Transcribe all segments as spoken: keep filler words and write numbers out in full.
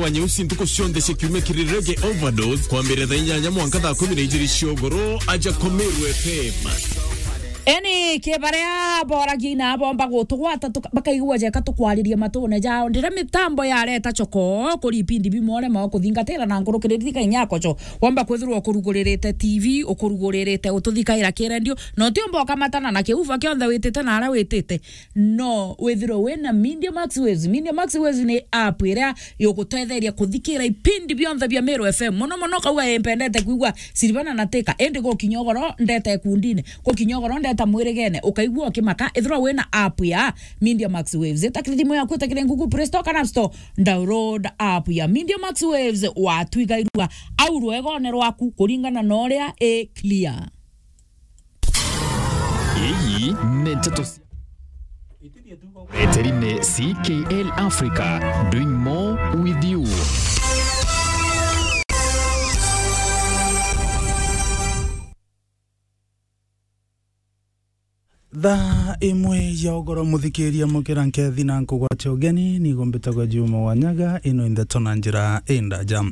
wa nyeusi ntuku cionthe cia kiumia kiri Reggae Overdose, kwambiriria thaa inyanya mwanka thaa kumi na ijiri cia ugoro, aja kwa Meru F M. Eni, ki baria boragia na bomba gutugwata tuka-, bakaigua jeka tukwariria matune jao. Ndira mitambo yareta choko kuri ipindi bimwe urema kuthingatira na nkurukiriri thika inya kocho. Womba kwithirwa ukuruguririte T V, ukuruguririte ututhikaira kirendio, na utiumba ukamatana na kiuva kionthe witite na aria witite. No withirwe wina Media Max Waves. Media Max Waves ni app iria igutetheria kuthikira ipindi bionthe bia Meru F M. Muno muno kauga, "Ii, mpendete kwigua Silvana na Tika," indi gukinya ugoro ndeta ikundine, gukinya ugoro ndeta mwirigene, ukaigua ukimaka. Ithirwa wina app ya Media Max Waves, itakiri thimu yaku, itakiri Google Play Store kana App Store, download app ya Media Max Waves, watwigairua au rwegone rwaku kuringana na uria i clear. Ii ni nteto cia Eteri ni C K L Africa, doing more with you. Thaa imwe ya ugoro, muthikiria, mukira nkethi na nkugwatia ugeni, nigo mbitagwa Juma Wanyaga, ino i ndeto na njira indaja.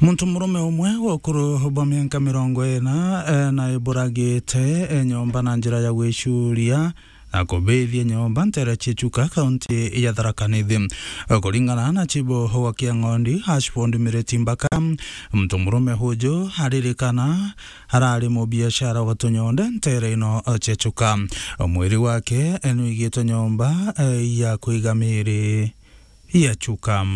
Muntu murume umwe wa ukuru bwa mianka mirongo ina, eh, na iburagite, eh, nyomba na njira ya gwicuria na kubithia nyomba ntere cia Chuka, kaunti ya Tharaka Nithi. Kuringana na chibu wa Kiang'ondi, Ashford Mireti Mbaka, muntu murume uju aririkana arari mubiashara wa tunyonde ntere ino cia Chuka. Mwiri wake nwigitwe nyomba, eh, ya kuiga miri ya Chuka.